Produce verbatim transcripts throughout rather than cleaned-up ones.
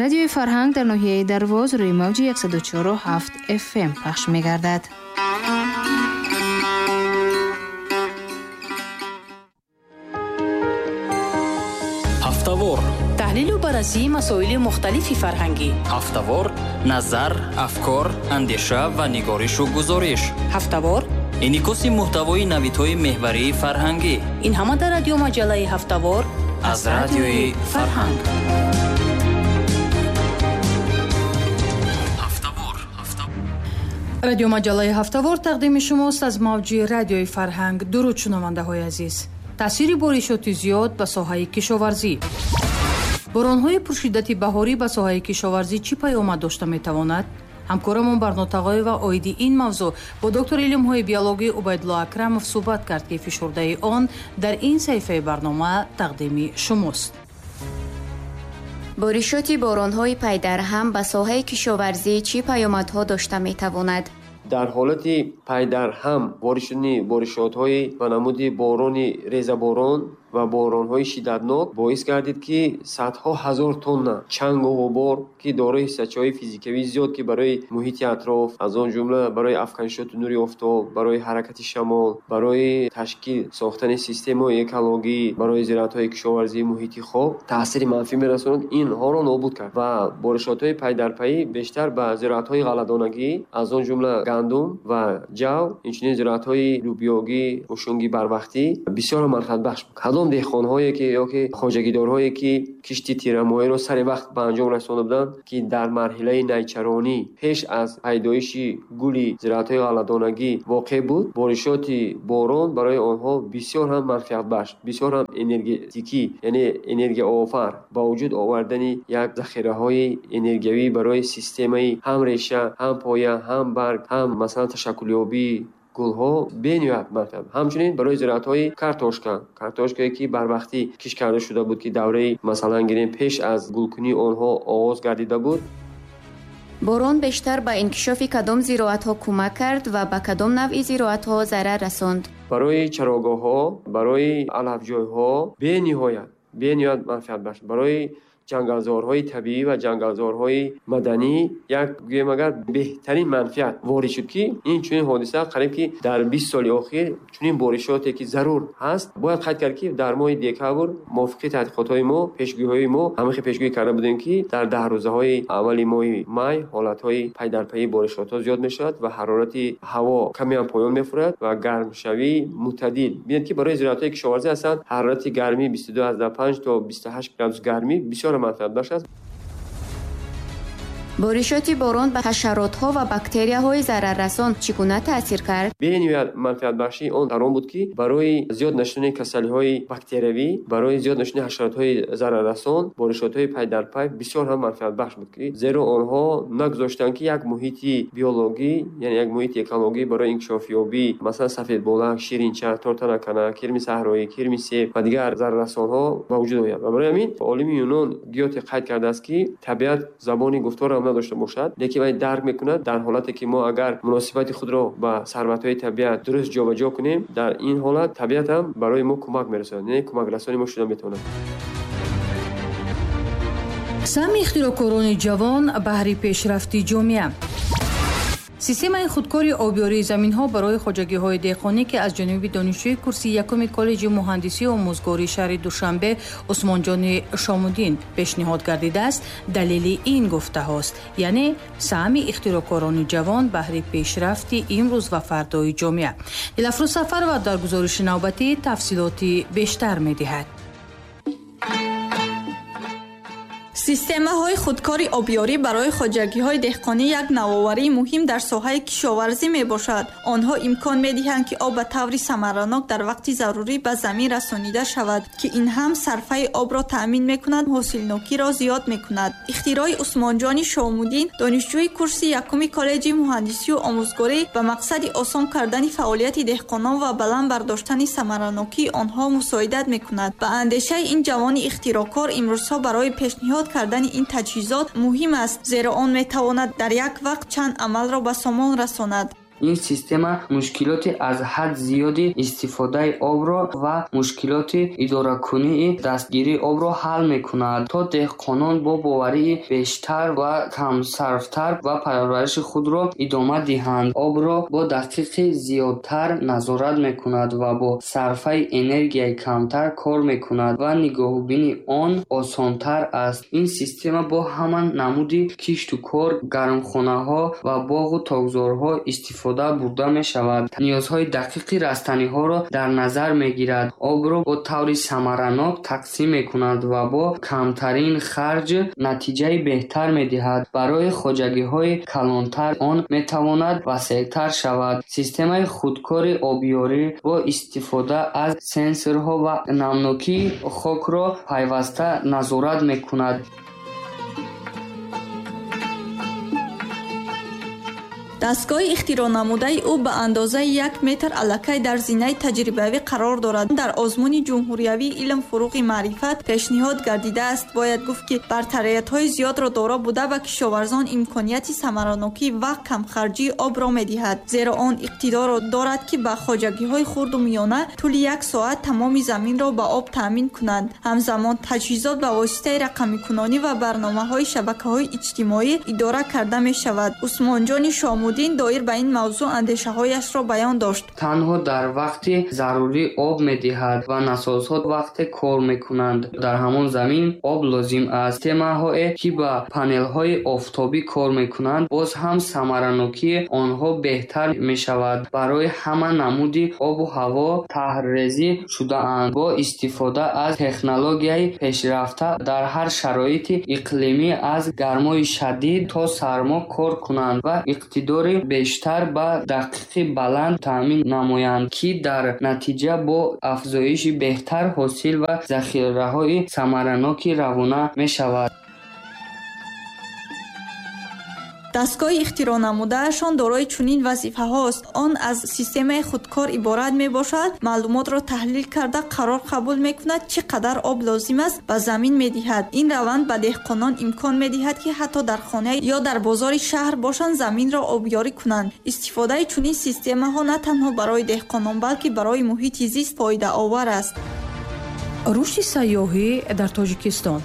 Радиои Фарҳанг дар ноҳияи Дарвоз рӯи мавҷи яксаду чору ҳафт эф эм пахш мегардад. Ҳафтавор таҳлилу баррасии масоили мухталифи фарҳангӣ. Ҳафтавор назар, афкор, андеша ва нигоришу гузориш. Ҳафтавор инъикоси муҳтавои навидҳои меҳварии фарҳангӣ. Ин ҳама дар радиомаҷаллаи Ҳафтавор аз радиои Фарҳанг. Радиомаҷаллаи Ҳафтавор тақдими шумост аз мавҷи радиои Фарҳанг. Дуруд шунавандаҳои азиз. Таъсири боришоти зиёд ба соҳаи кишоварзӣ. Боронҳои пуршиддати баҳорӣ ба соҳаи кишоварзӣ чӣ паёмад дошта метавонад? Ҳамкорамон Барно Тағоева оиди ин мавзӯъ бо доктори илмҳои биологӣ Убайдулло Акрамов суҳбат кард, ки фишурдаи он дар ин саҳифаи барнома тақдими шумост. Боришоти боронҳои пайдарҳам ба соҳаи кишоварзӣ чӣ паёмадҳо дошта метавонад? Дар ҳолати пайдарҳам ворид шудани боришотҳои ба намуди борони резаборон ва боронҳои шиддатнок боис гардид, ки садҳо ҳазор тонна чангу ғубор, ки дорои ҳиссачаҳои физикавии зиёд, ки барои муҳити атроф, аз он ҷумла барои афканишоти нури офтоб, барои ҳаракати шамол, барои ташкил сохтани системаҳои экологӣ, барои зироатҳои кишоварзии муҳити хок таъсири манфӣ мерасонад, инҳоро нобуд кард ва боришотҳои пайдарпайӣ бештар ба зироатҳои ғалладонагӣ, аз он ҷумла гандум ва ҷав, инчунин зироатҳои лӯбиёгӣ, мушунгӣ барвақтӣ бисёр манфиатбахш буд. Кадом деҳқонҳое ки ё ки хоҷагидорҳое ки кишти тирамоҳиро сари вақт ба анҷом расонда буданд, ки дар марҳилаи найчаронӣ пеш аз пайдоиши гули зироатҳои ғалладонагӣ воқеъ буд, боришоти борон барои онҳо бисёр ҳам манфиатбахш, бисёр ҳам энергетикӣ, яъне энергияофар, ба вуҷуд овардани як захираҳои энергиявӣ барои системаи ҳам реша, ҳам поя, ҳам барг, ҳам масалан ташаккулёбии гулҳо бениҳоят манфиат. Ҳамчунин барои зироатҳои картошка, картошкае ки барвақтӣ кишт карда шуда буд, ки давраи масалан гирем пеш аз гулкунии онҳо оғоз гардида буд. Борон бештар ба инкишофи кадом зироатҳо кӯмак кард ва ба кадом навъи зироатҳо зарар расонд? Барои чарогоҳҳо, барои алафҷойҳо бениҳоят, бениҳоят манфиатбахш. Барои ҷангалзорҳои табиӣ ва ҷангалзорҳои маданӣ як гӯем агар беҳтарин манфиат ворид шуд, ки ин чунин ҳодиса қариб ки дар бист соли охир чунин боришоте ки зарур ҳаст. Бояд қайд кард, ки дар моҳи декабр мувофиқи таҳқиқотҳои мо, пешгӯиҳои мо ҳамахел пешгӯӣ карда будем, ки дар даҳ рӯзаҳои аввали моҳи май ҳолатҳои пайдарпайии боришотҳо зиёд мешавад ва ҳарорати ҳаво каме ҳам поён мефурад ва гармшавии мӯътадил. Бинед, ки барои зироатҳои кишоварзӣ ҳастанд ҳарорати гармӣ бисту ду аз даҳ панҷ то бисту ҳашт градус гармӣ бисёр манфиатбахш аст. Боришоти борон ба ҳашаротҳо ва бактерияҳои зараррасон чӣ гуна таъсир кард? Бениҳоят манфиатбахшии он дар он буд, ки барои зиёд нашудани касалиҳои бактериявӣ, барои зиёд нашудани ҳашаротҳои зараррасон боришотҳои пайдарпай бисёр ҳам манфиатбахш буд, ки зеро онҳо нагузоштанд, ки як муҳити биологӣ, яъне як муҳити экологӣ барои инкишофёбӣ, масалан сафедболак, ширинча, тортанакана, кирми саҳроӣ, кирми себ ва дигар зараррасонҳо ба вуҷуд ояд. Ва барои ҳамин олими юнон Гёте қайд кардааст, ки табиат забони гуфторро ҳам надошта бошад, лекин вай дарк мекунад дар ҳолате ки мо агар муносибати худро ба сарватҳои табиат дуруст ҷобаҷо кунем, дар ин ҳолат табиат ҳам барои мо кӯмак мерасонад, яъне кӯмакрасони мо шуда метавонад. Саҳми ихтироъкорони ҷавон баҳри пешрафти ҷомеа. Системаи худкори обёрии заминҳо барои хоҷагиҳои деҳқонӣ, ки аз ҷониби донишҷӯи курси якуми коллеҷи муҳандисию омӯзгории шаҳри Душанбе Усмонҷони Шомуддин пешниҳод гардидааст, далели ин гуфтаҳост, яъне саҳми ихтироъкорони ҷавон баҳри пешрафти имрӯз ва фардои ҷомеа. Дилафрӯз Сафарова дар гузориши навбатӣ тафсилоти бештар медиҳад. Системаҳои худкори обёрӣ барои хоҷагиҳои деҳқонӣ як навоварии муҳим дар соҳаи кишоварзӣ мебошад. Онҳо имкон медиҳанд, ки об ба таври самаранок дар вақти зарурӣ ба замин расонида шавад, ки ин ҳам сарфаи обро таъмин мекунад, ҳосилнокиро зиёд мекунад. Ихтирои Усмонҷони Шомуддин, донишҷӯи курси якуми коллеҷи муҳандисию омӯзгорӣ, ба мақсади осон кардани фаъолияти деҳқонон ва баланд бардоштани самаранокии онҳо мусоидат мекунад. Ба андешаи ин ҷавони ихтироъкор, имрӯзҳо барои пешниҳод кардани ин таҷҳизот муҳим аст, зеро он метавонад дар як вақт чанд амалро ба сомон расонад. Ин система мушкилоти аз ҳад зиёди истифодаи обро ва мушкилоти идоракунии дастгирии обро ҳал мекунад, то деҳқонон бо боварии бештар ва камсарфтар ва парвариши худро идома диҳанд. Обро бо дақиқи зиёдтар назорат мекунад ва бо сарфаи энергияи камтар кор мекунад ва нигоҳубини он осонтар аст. Ин система бо ҳама намуди кишту кор, гармхонаҳо ва боғу токзорҳо истифода бурда мешавад. Ниёзҳои дақиқи растаниҳоро дар назар мегирад, обро бо таври самаранок тақсим мекунад ва бо камтарин харҷ натиҷаи беҳтар медиҳад. Барои хоҷагиҳои калонтар он метавонад васеътар шавад. Системаи худкори обёрӣ бо истифода аз сенсорҳо ва намнокии хокро пайваста назорат мекунад. Дастгоҳи ихтироънамудаи ӯ ба андозаи як метр аллакай дар зинаи таҷрибавӣ қарор дорад. Дар озмуни ҷумҳуриявии илм фуруғи маърифат пешниҳод гардидааст. Бояд гуфт, ки бартариятҳои зиёдро доро буда ба кишоварзон имконияти самаранокӣ ва камхарҷии обро медиҳад, зеро он иқтидорро дорад, ки ба хоҷагиҳои хурду миёна тӯли як соат тамоми заминро ба об таъмин кунанд. Ҳамзамон таҷҳизот ба воситаи рақамикунонӣ ва барномаҳои шабакаҳои иҷтимоӣ идора карда мешавад. Усмонҷони Шомуддин доир ба ин мавзӯъ андешаҳояшро баён дошт. Танҳо дар вақти зарурӣ об медиҳад ва насосҳо вақте кор мекунанд. Дар ҳамон замин об лозим аст. Системаҳое, ки ба панелҳои офтобӣ кор мекунанд, боз ҳам самаранокии онҳо беҳтар мешавад. Барои ҳама намуди обу ҳаво таҳрезӣ шудаанд. Бо истифода аз технологияи пешрафта дар ҳар шароити иқлимӣ аз гармои шадид то сармо кор кунанд ва иқтидори бештар ба дақиқи баланд таъмин намоянд, ки дар натиҷа бо афзоиши беҳтар ҳосил ва захираҳои самараноки равона мешавад. Дастгоҳи ихтироънамудаашон дорои чунин вазифаҳост. Он аз системаи худкор иборат мебошад, маълумотро таҳлил карда қарор қабул мекунад, чӣ қадар об лозим аст ба замин медиҳад. Ин раванд ба деҳқонон имкон медиҳад, ки ҳатто дар хона ё дар бозори шаҳр бошанд, заминро обёрӣ кунанд. Истифодаи чунин системаҳо на танҳо барои деҳқонон, балки барои муҳити зист фоидаовар аст. Рушди сайёҳӣ дар Тоҷикистон.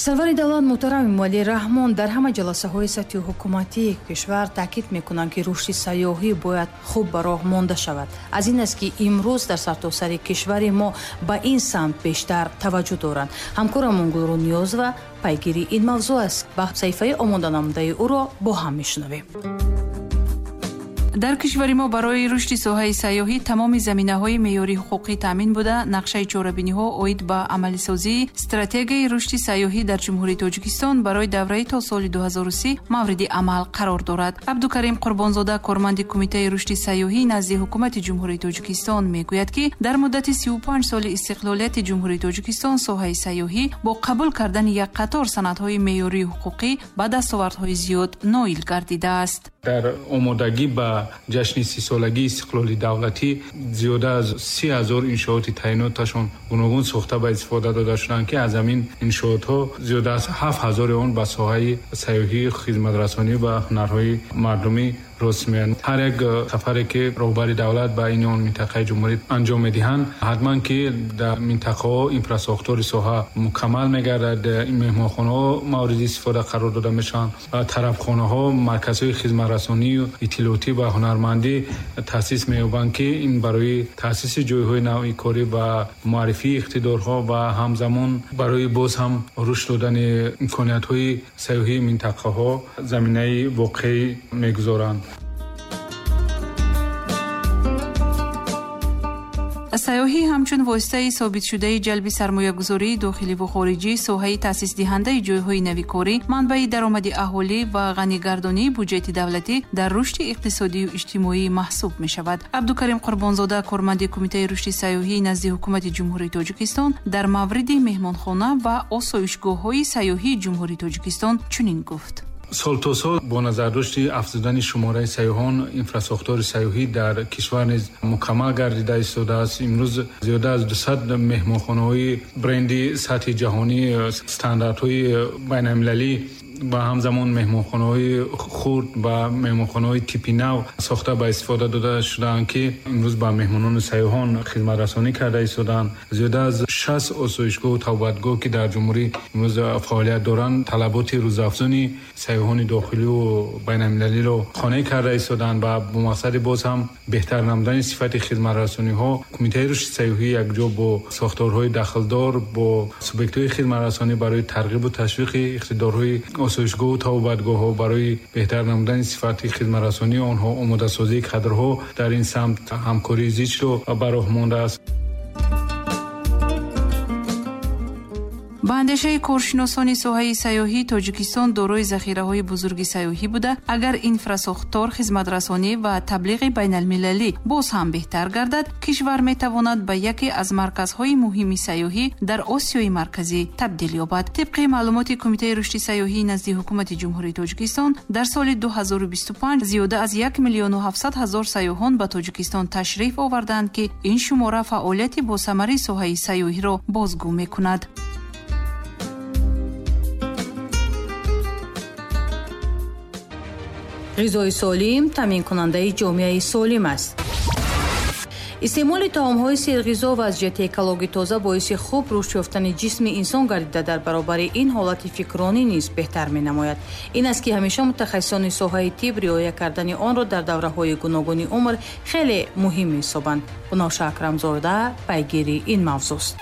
Сарвари давлат муҳтарам Эмомалӣ Раҳмон дар ҳама ҷаласаҳои сатҳи ҳукуматии кишвар таъкид мекунанд, ки рушди сайёҳӣ бояд хуб ба роҳ монда шавад. Аз ин аст, ки имрӯз дар сартосари кишвари мо ба ин самт бештар таваҷҷӯҳ доранд. Ҳамкорамон Гулрӯ Ниёзова пайгири ин мавзӯъ аст. Ба саҳифаи омоданамудаи ӯро бо ҳам мешунавем. Дар кишвари мо барои рушди соҳаи сайёҳӣ тамоми заминаҳои меъёрии ҳуқуқӣ таъмин буда, нақшаи чорабиниҳо оид ба амалисозии стратегияи рушди сайёҳӣ дар Ҷумҳурии Тоҷикистон барои давраи то соли ду ҳазору си мавриди амал қарор дорад. Абдукарим Қурбонзода, корманди Кумитаи рушди сайёҳӣ назди Ҳукумати Ҷумҳурии Тоҷикистон, мегӯяд, ки дар муддати сию панҷ соли истиқлолияти Ҷумҳурии Тоҷикистон соҳаи сайёҳӣ бо қабул кардани як қатор санадҳои меъёрии ҳуқуқӣ ба дастовардҳои зиёд ноил гардидааст. Дар омодагӣ ба ҷашни сисолагии истиқлоли давлатӣ зиёда аз си ҳазор иншооти таъиноташон гуногун сохта ба истифода дода шуданд, ки аз ҳамин иншоотҳо зиёда аз ҳафт ҳазори он ба соҳаи сайёҳӣ, хизматрасонӣ ва ҳунарҳои мардумӣ рост меоянд. Ҳар як сафаре ки роҳбари давлат ба ин он минтақаи ҷумҳурӣ анҷом медиҳанд, ҳатман ки дар минтақаҳо инфрасохтори соҳа мукаммал мегардад, меҳмонхонаҳо мавриди истифода қарор дода мешаванд, тарабхонаҳо, марказҳои хизматрасонию иттилоотӣ ва ҳунармандӣ таъсис меёбанд, ки ин барои таъсиси ҷойҳои нави корӣ ва муаррифии иқтидорҳо ва ҳамзамон барои боз ҳам рушд додани имкониятҳои сайёҳии минтақаҳо заминаи воқеӣ мегузоранд. Сайёҳӣ ҳамчун воситаи собитшудаи ҷалби сармоягузории дохиливу хориҷӣ, соҳаи таъсисдиҳандаи ҷойҳои навикорӣ, манбаи даромади аҳолӣ ва ғанигардонии буҷети давлатӣ дар рушди иқтисодию иҷтимоӣ маҳсуб мешавад. Абдукарим Қурбонзода, корманди Кумитаи рушди сайёҳӣ назди Ҳукумати Ҷумҳурии Тоҷикистон, дар мавриди меҳмонхона ва осоишгоҳҳои сайёҳии Ҷумҳурии Тоҷикистон чунин гуфт. Сол то сол бо назардошти афзудани шумораи сайёҳон, инфрасохтори сайёҳӣ дар кишвар низ мукаммал гардида истодааст. Имрӯз зиёда аз дусад меҳмонхонаҳои бренди сатҳи ҷаҳонӣ, стандартҳои байналмилалӣ ва ҳамзамон меҳмонхонаҳои хурд ва меҳмонхонаҳои типи нав сохта ба истифода дода шудаанд, ки имрӯз ба меҳмонону сайёҳон хизматрасонӣ карда истодаанд. Зиёда аз шаст осоишгоҳу тавбатгоҳ, ки дар ҷумҳурӣ имрӯз фаъолият доранд, талаботи рӯзафзуни сайёҳони дохилию байналмилалиро қонеъ карда истодаанд ва бо мақсади боз ҳам беҳтар намудани сифати хизматрасониҳо Кумитаи рушди сайёҳӣ якҷо бо сохторҳои дахлдор, бо субъектҳои хизматрасонӣ барои тарғибу ташвиқи иқтидорҳои осоишгоҳу тавбатгоҳҳо барои беҳтар намудани сифати хизматрасонии онҳо, омодасозии кадрҳо дар ин самт ҳамкории зичро ба роҳ мондааст. Ба андешаи коршиносони соҳаи сайёҳӣ, Тоҷикистон дорои захираҳои бузурги сайёҳӣ буда, агар инфрасохтор, хизматрасонӣ ва таблиғи байналмилалӣ боз ҳам беҳтар гардад, кишвар метавонад ба яке аз марказҳои муҳими сайёҳӣ дар Осиёи Марказӣ табдил ёбад. Тибқи маълумоти Кумитаи рушди сайёҳӣ назди Ҳукумати Ҷумҳурии Тоҷикистон, дар соли ду ҳазору бисту панҷ зиёда аз як миллиону ҳафтсад ҳазор сайёҳон ба Тоҷикистон ташриф оварданд, ки ин шумора фаъолияти босамари соҳаи сайёҳиро бозгӯ мекунад. Ғизои солим таъминкунандаи ҷомеаи солим аст. Истеъмоли таомҳои серғизо ва аз ҷиҳати экологӣ тоза боиси хуб рушд ёфтани ҷисми инсон гардида, дар баробари ин ҳолати фикронӣ низ беҳтар менамояд. Ин аст, ки ҳамеша мутахассисони соҳаи тиб риоя кардани онро дар давраҳои гуногуни умр хеле муҳим меҳисобанд. Гуноша Акрамзода пайгири ин мавзӯст.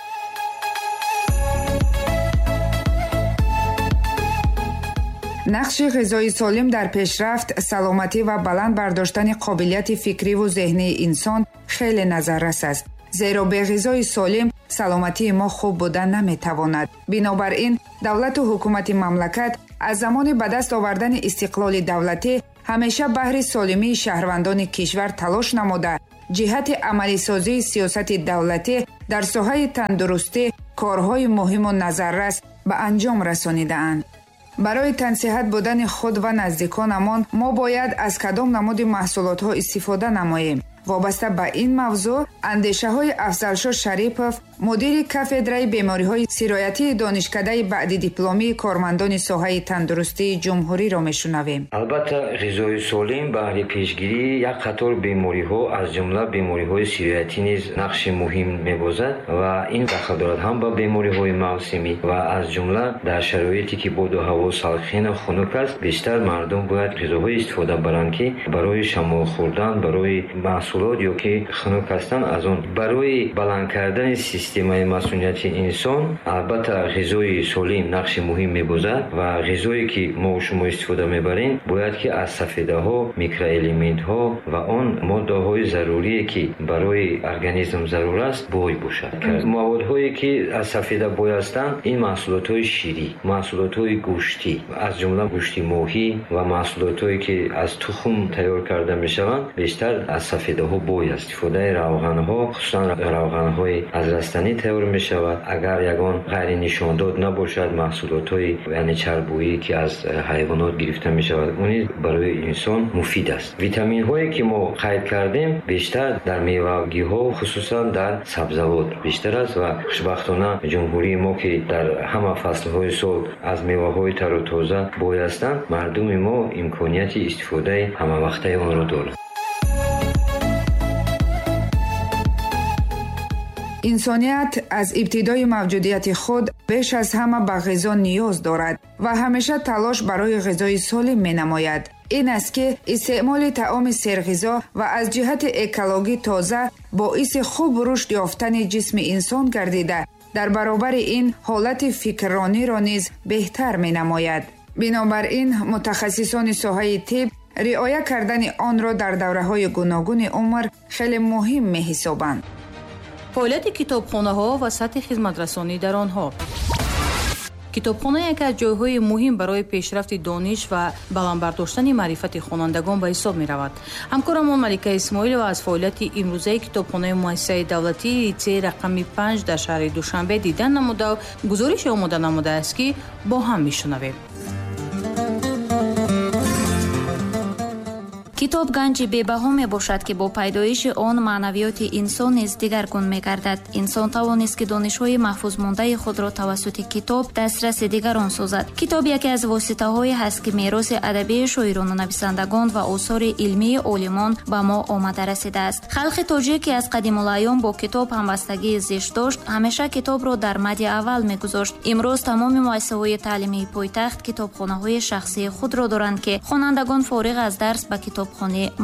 Нақши ғизои солим дар пешрафт, саломатӣ ва баланд бардоштани қобилияти фикриву зеҳнии инсон хеле назаррас аст. Зеро бе ғизои солим саломатии мо хуб буда наметавонад. Бинобар ин, давлату ҳукумати мамлакат аз замони ба даст овардани истиқлоли давлатӣ ҳамеша баҳри солимии шаҳрвандони кишвар талош намуда, ҷиҳати амалисозии сиёсати давлатӣ дар соҳаи тандурустӣ корҳои муҳиму назаррас ба анҷом расонидаанд. Барои тансиҳат будани худ ва наздиконамон мо бояд аз кадом намуди маҳсулотҳо истифода намоем. Вобаста ба ин мавзӯъ андешаҳои Афзалшо Шарипов, мудири кафедраи бемориҳои сироятии донишкадаи баъди дипломии кормандони соҳаи тандурустии ҷумҳуриро мешунавем. Албатта, ғизои солим баҳри пешгирии як қатор бемориҳо, аз ҷумла бемориҳои сироятӣ низ нақши муҳим мебозад ва ин дахл дорад ҳам ба бемориҳои мавсимӣ ва аз ҷумла дар шароите ки боду ҳаво салқину хунук аст, бештар мардум бояд ғизоҳое истифода баранд, ки барои шамол хӯрдан, барои маҳсулот ё ки хунук ҳастанд, аз он барои баланд кардани системаи масунияти инсон албатта ғизои солим нақши муҳим мебозад ва ғизое ки мо шумо истифода мебарем бояд ки аз сафедаҳо, микроэлементҳо ва он моддаҳои зарурие ки барои организм зарур аст бой бошад. Маводҳое ки аз сафеда бой ҳастанд ин маҳсулотҳои ширӣ, маҳсулотҳои гӯштӣ, аз ҷумла гӯшти моҳӣ ва маҳсулотҳое ки аз тухм тайёр карда мешаванд бештар аз сафедаҳо бой аст. Истифодаи равғанҳо, хусусан равғанҳои аз растанӣ тайёр мешавад. Агар ягон ғайринишондод набошад, маҳсулотҳои яъне чарбӯӣ ки аз ҳайвонот гирифта мешавад, он низ барои инсон муфид аст. Витаминҳое ки мо қайд кардем бештар дар мевагиҳо, хусусан дар сабзавот бештар аст ва хушбахтона ҷумҳурии мо ки дар ҳама фаслҳои сол аз меваҳои тару тоза бой ҳастанд, мардуми мо имконияти истифодаи ҳамавақтаи онро дорад. Инсоният аз ибтидои мавҷудияти худ беш аз ҳама ба ғизо ниёз дорад ва ҳамеша талош барои ғизои солим менамояд. Ин аст, ки истеъмоли таоми серғизо ва аз ҷиҳати экологӣ тоза боиси хуб рушд ёфтани ҷисми инсон гардида, дар баробари ин ҳолати фикррониро низ беҳтар менамояд. Бинобар ин, мутахассисони соҳаи тиб риоя кардани онро дар давраҳои гуногуни умр хеле муҳим меҳисобанд. Фаъолияти китобхонаҳо ва сатҳи хизматрасонӣ дар онҳо. Китобхона яке аз ҷойҳои муҳим барои пешрафти дониш ва баланд бардоштани маърифати хонандагон ба ҳисоб меравад. Ҳамкорамон Малика Исмоилова аз фаъолияти имрӯзаи китобхонаи муассисаи давлатии литсеи рақами панҷ дар шаҳри Душанбе дидан намуда гузорише омода намудааст, ки бо ҳам мешунавем. Китоб ганҷи бебаҳо мебошад, ки бо пайдоиши он маънавиёти инсон низ дигаргун мегардад. Инсон тавонист, ки донишҳои маҳфузмондаи худро тавассути китоб дастраси дигарон созад. Китоб яке аз воситаҳое ҳаст, ки мероси адабии шоирону нависандагон ва осори илмии олимон ба мо омада расидааст. Халқи тоҷик, ки аз қадимулайём бо китоб ҳамбастагии зишт дошт, ҳамеша китобро дар мади аввал мегузошт. Имрӯз тамоми муассисаҳои таълимии пойтахт китобхонаҳои шахсии худро доранд, ки хонандагон фориғ аз дарс ба китобхонӣ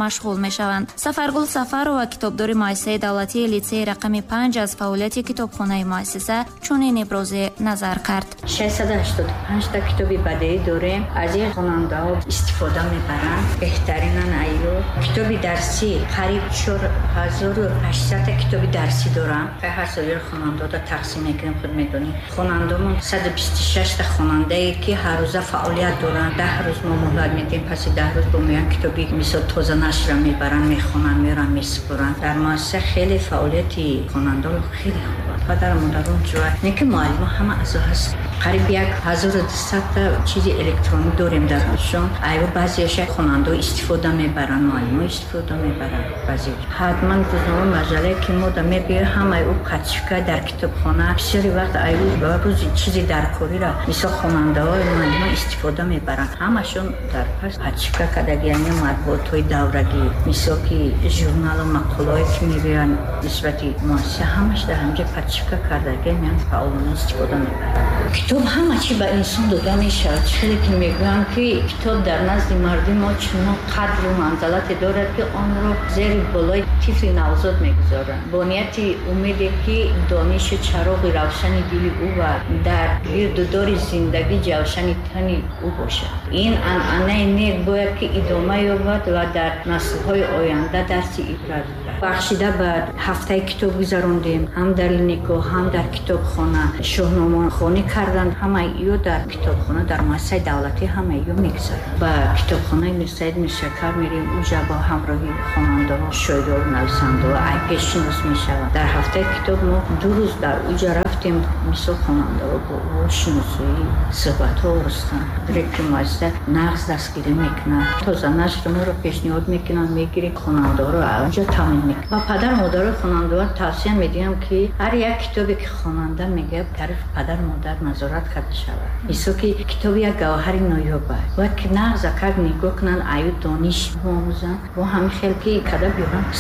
машғул мешаванд. Сафаргул Сафарова, китобдори муассисаи давлатии литсеи рақами панҷ, аз фаъолияти китобхонаи муассиса чунин иброзе назар кард. шашсаду ҳаштоду панҷта китоби бадеӣ дорем. Аз ин хонандаҳо истифода мебаранд. Беҳтаринан айё китоби дарсӣ қариб чор ҳазору ҳаштсадта китоби дарсӣ дорам. Ҳар солро хонандаҳода тақсим мекунем, худ медонем. Хонандамон саду бисту шашта хонандае, ки ҳар рӯза фаъолият доранд. Даҳ рӯз мо муҳлат медиҳем, паси даҳ рӯз бо меоянд китоби мисол тоза нашрро мебаранд, мехонанд, меоранд, месупоранд. Дар муассиса хеле фаъолияти хонандаҳо хеле хуб аст. Падару модарон ҷӯяд, не ки муаллимо ҳама аъзо ҳаст. Қариб як ҳазору дусадта чизи электронӣ дорем дар худшон. Айва баъзеяша хонандаҳо истифода мебаранд, муаллимо истифода мебаранд. Баъзе ҳатман рӯзнома маҷаллае, ки мо да мебиёем, ҳамаи ӯ подшивка дар китобхона. Бисёри вақт айву рӯзи чизи даркориро мисол хонандаҳо муаллимо истифода мебаранд. Ҳамашон дар пас подшивка кардаги, яъне матбуотҳои даврагӣ, мисол ки журналу мақолаҳое, ки мебиёянд нисбати муассиса, ҳамаш дар ҳамҷа подшивка кардаги, меянд фаъолона истифода мебаранд. Китоб ҳама чи ба инсон дода мешавад. Хеле ки мегӯянд, ки китоб дар назди мардуми мо чунон қадру манзалате дорад, ки онро зери болои тифли навзод мегузоранд, бо нияти умеде, ки донишу чароғи равшани дили ӯ ва дар гирду дори зиндагӣ ҷавшани тани ӯ бошад. Ин анъанаи нек бояд ки идома ёбад ва дар наслҳои оянда дарси ибрат гирад. Бахшида ба ҳафтаи китоб гузарондем, ҳам дар линейка, ҳам дар китобхона шоҳномахонӣ карданд. Ҳамаи ё дар китобхона, дар муассисаи давлатӣ ҳамаи ё мегузаранд. Ба китобхонаи Мирсаид Миршакар мерем, уҷа бо ҳамроҳи хонандаҳо, шоиру нависандаҳо айпеш шинос мешаванд. Дар ҳафтаи китоб мо ду рӯз дар уҷа рафтем, мисол хонандаҳо бо ӯ шиносоӣ, суҳбатҳо оростанд. Директори муассиса нағз дастгирӣ мекунад, тоза нашр моро пешниҳод мекунанд, мегирем хонандаҳоро онҷо таъмин мекунад. Ба падару модарои хонандаҳо тавсия медиҳам, ки ҳар як китобе, ки хонанда мегӯяд, тарафи падару модар назорат карда шавад. Мисол ки китоб як гавҳари ноёб аст, бояд ки нағз акак нигоҳ кунанд, аю дониш биомӯзанд, бо ҳамин хел ки када биёранд.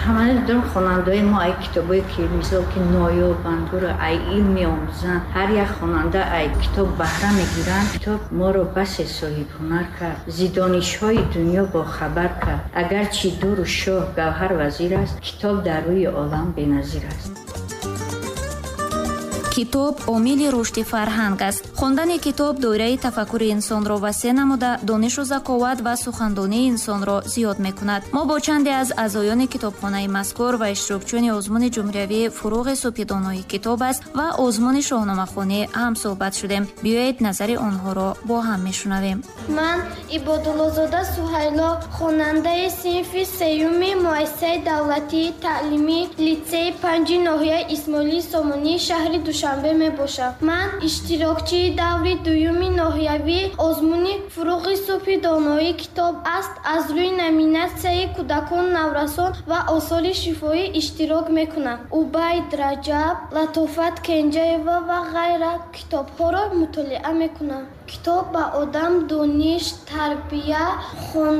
Ҳамаи дорам хонандаҳои мо ай китобое, ки мисол ки ноёбанд, ӯро ай илм меомӯзанд. Ҳар як хонанда ай китоб баҳра мегиранд. Китоб моро басе соҳибҳунар кард, зи донишҳои дунё бохабар кард. Агарчи дуру шоҳ гавҳар вазир аст, китоб дар рӯи олам беназир аст. Китоб омили рушди фарҳанг аст. Хондани китоб доираи тафаккури инсонро васеъ намуда, донишу заковат ва сухандонии инсонро зиёд мекунад. Мо бо чанде аз аъзоёни китобхонаи мазкур ва иштирокчиёни озмуни ҷумҳуриявии «Фуруғи субҳи донои китоб аст» ва озмуни шоҳномахонӣ ҳамсӯҳбат шудем. Биёед назари онҳоро бо ҳам мешунавем. Ман Ибодуллозода Суҳайло, хонандаи синфи сеюми муассисаи давлатии таълимии литсеи панҷи ноҳияи Исмоилии Сомонии шаҳри Душанбе мебошам. Ман иштирокчии даври дуюми ноҳиявии озмуни «Фуруғи субҳи доноии китоб аст» аз рӯи номинатсияи кӯдакон, наврасон ва осори шифоӣ иштирок мекунам. Убайд Раҷаб, Латофат Кенҷаева ва ғайра китобҳоро мутолиа мекунам. Китоб ба одам дониш, тарбия, хон